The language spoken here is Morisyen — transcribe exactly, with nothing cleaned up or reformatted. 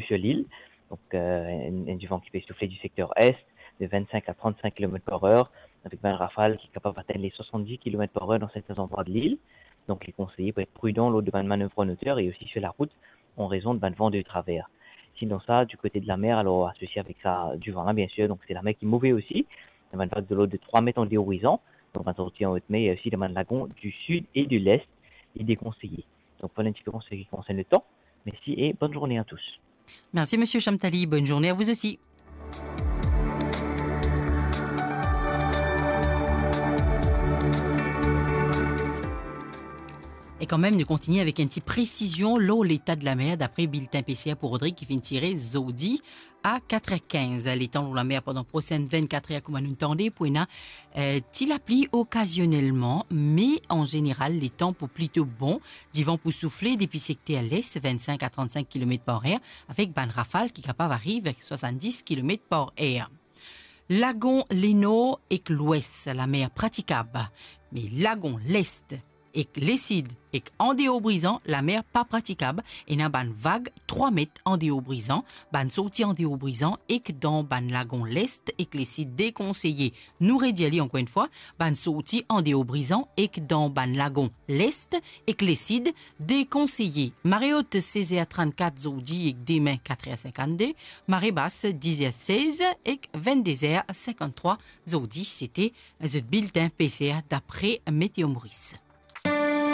sekter lil. Donk, euh, enn, enn divan ki pe soufle di sekter est, de vingt-cinq à trente-cinq kilomètres par heure, avek bann rafal ki kapav atenn les soixante-dix kilomètres par heure dan sertin zandrwa de lil. Donk, li konseye pou et pridan lor de bann manev an oter e osi sir larout, an rezon de bann van de traver. Sinon sa, di kote de lamer, alor, asosie avek sa, divan la, bien sir, donk se lamer ki move osi. Bann vag de lord de trwa met an deor Brizan, donk bann sorti an Haute Mer, e osi dan bann lagon di sid e de lest, li dekonseye. Donk, vwala enn tipe an se ki konsern letan. Mersi e bonn zourne a tous. Merci, monsieur Chamtali. Bonne journée à vous aussi. E kanmem, nou kontigne avek enn ti presizion lor leta de lamer, dapre biltin P C R pou Rodrig ki finn tire zordi a kat er kinz. Letan lor lamer pandan prosenn vennkat er, kouma nou tann, pou ena, eh, ti lapli okazionelman, me an zeneral, letan pou plito bon. Divan pou soufle depi sekter les, vingt-cinq à trente-cinq kilomètres par heure, avek bann rafal ki kapav ariv soixante-dix kilomètres par heure. Lagon Lenor ek Lwes, lamer pratikab, me lagon Lest ek Lesid ek andeor Brizan, lamer pa pratikab. Ena bann vag trwa met andeor Brizan. Bann sorti andeor Brizan ek dan bann lagon Lest ek Lesid dekonseye. Nou redir li ankor enn fwa, bann sorti andeor Brizan ek dan bann lagon Lest ek Lesid dekonseye. Mare ot, sez er trannkat zordi ek demin, kat er sinkannde. Mare bas, diz er sez ek vennde er sinkanntrwa zordi. Sete zot biltin P C R dapre Météo Maurice.